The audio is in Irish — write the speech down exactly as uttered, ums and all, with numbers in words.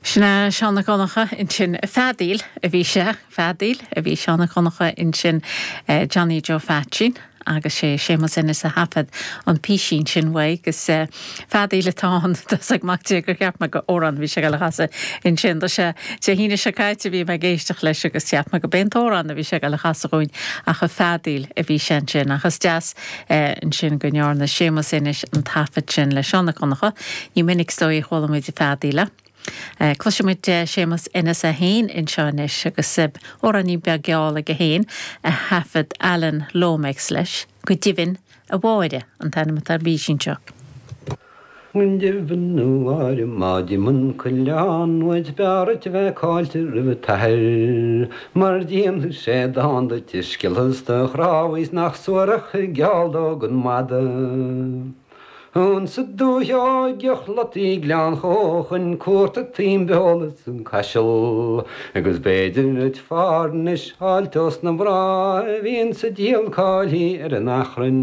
Sin é Seán Mac Donncha ansin feadaíl a bhí sé feadaíl a bhí Seán Mac Donncha ansin eh, Johnny Joe Phaitsín agus sé Séamus Ennis a thaifead an písín sin uaidh agus eh, feadaíl atá ann ag mac gur cheap mé gur amhrán bhí sé le chasadh ansin do sé Dé hAoine seo caite bhí mé ag éisteacht leis agus cheap mé go b'é an t-amhrán a bhí sé le chasadh dúinn ach a feadaíl a bhí sé ansin achas deas eh, ansin go ndearna Séamus Ennis an taifead sin le Seán Mac Donncha, ní minic stoi chualamuid a feadaíle. Eh, Cloisfimid eh, Séamus Ennis é féin anseo anois agus amhráinín beag geal aige féin a thaifead Alan Lomax leis go deimhin a Mháire an t-ainm atá ar an bpísín seo. Deimhin a Mháire má d'imigh an coileán uait b'fhearr duit bheith caillte roimh t'athair, mar déanfaidh sé dán duit a sciolfas do chnámha nach suarach geall dó don mhadadh. Ansa dúiche óige chlotaí Gleann Chóchain cuarta timbeolas an caiseal, agus b'fhéidir duit fear anois fháil os na mná a bhíonn sa díol cáilí ar an achrann.